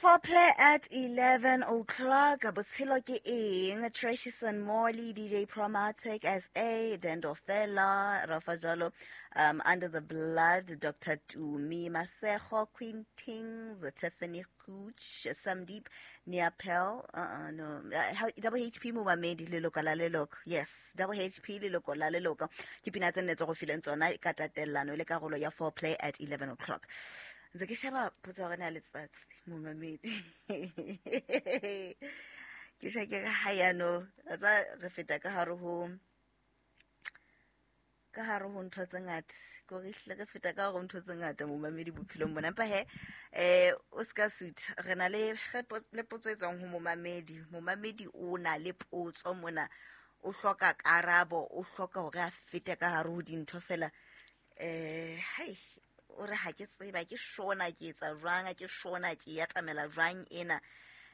Foreplay at 11 o'clock. Botshelo ke eng? Trashison Morley, DJ Promatic, SA, Dendo Fela, Rafa Jalo, Under the Blood, Dr. Tumi, Masego, Queen Tings, Tiffany Cooch, Samdeep, Niapel, no, Double HP Momamedi, leloko la leloko. Yes, Double HP leloko la leloko. Ke pina tse nne tse go fileng tsona ka tatellano le karolo ya Foreplay at 11 o'clock. Ntse ke sheba potso ya rona ya letsatsi, momamedi. Ke shake ka ha yano, tsa re feta ka hare ho ntho tse ngata. Ko re hlile re feta ka hare ho ntho tse ngata momamedi bophelong bona. Empa he, o ska sutha. Re na le le potso e tswang ho momamedi. Momamedi o na le potso mona. O hloka karabo, o hloka hore a fete ka hare ho dintho fela. Hai, o re ha ke tseba ke shona ke etsa jwang, ke shona ke ya tamela jwang ena.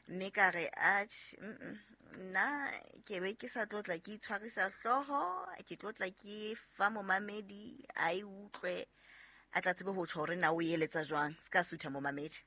Mme ka re, atjhe, nna ke be ke sa tlotla ke itshwarisa hlooho, ke tlotla ke fa momamedi a e utlwe, a tla tsebe ho tjho hore na o eletsa jwang. Se ka sutha momamedi.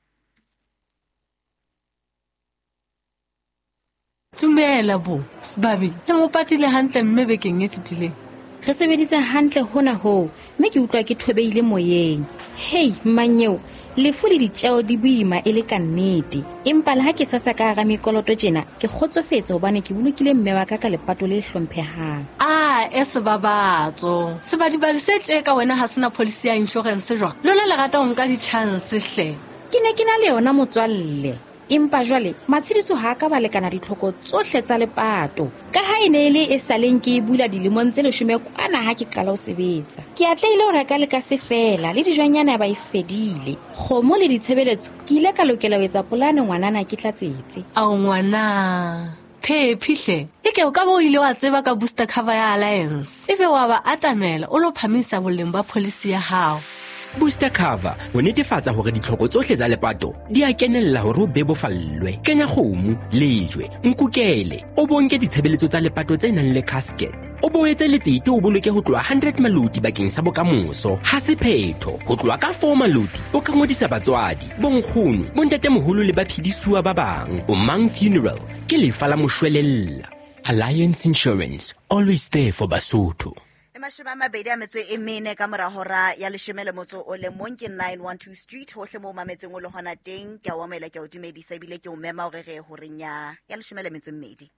Dumela bo, Sebabi, le mo patile hantle mme bekeng e fetileng. Re sebeditse hantle hona hoo, mme ke utlwa ke thobeile moyeng. Hei, mmanyeo, lefu le ditjeo di boima e le ka nnete. Empa le ha ke sasa ka hara mekoloto tjena, ke kgotsofetse hobane ke bolokile mme wa ka ka lepato le hlomphehang. A, e sebabatso. Sebadibadi se tje ka wena ha sena policy ya insurance jwang? Lona le rata ho nka di-chance hle. Ke ne ke na le yona motswalle. Empa jwale matshediso ha ka ba lekana ditlhoko tsohle tsa lepato. Ka ha e ne e le e saleng ke e bula dilemong tse 10 kwana ha ke qala ho sebetsa. Ke atlehile ho reka le ka se fela le dijwanyana ba e fedile. Kgomo le ditshebeletso ke ile ka lokela ho etsa polane ngwanana ke tlatsetse. Ao ngwana, phephi hle. E ke o ka bo o ile wa tseba ka booster cover ya Alliance. Ebe wa ba atamela o lo phamisa boleng ba policy ya hao. Booster cover ho netefatsa hore ditlhoko tsohle tsa lepato di a kenella hore o bebofallwe. Kenya kgomo, lejwe, nkukele, o bonke ditshebeletso tsa lepato tse nang le casket. O boetse letsete o boloke ho tloha 100 maloti bakeng sa bokamoso. Ha se phetho, ho tloha ka 4 maloti o ka ngodisa batswadi, bonkgono, bontatemoholo le baphedisuwa ba bang. O Mang Funeral ke lefa la moshwelella. Alliance Insurance, always there for Basotho. Mashome a mabedi a metso e mene ka mora hora ya leshome le motso o le mong ke 912 Street, hohle moo mametseng o le hona teng. Ke a o amohela, ke a o dumedisa ebile ke o mema hore re ye horeng ya leshome le metso e mmedi.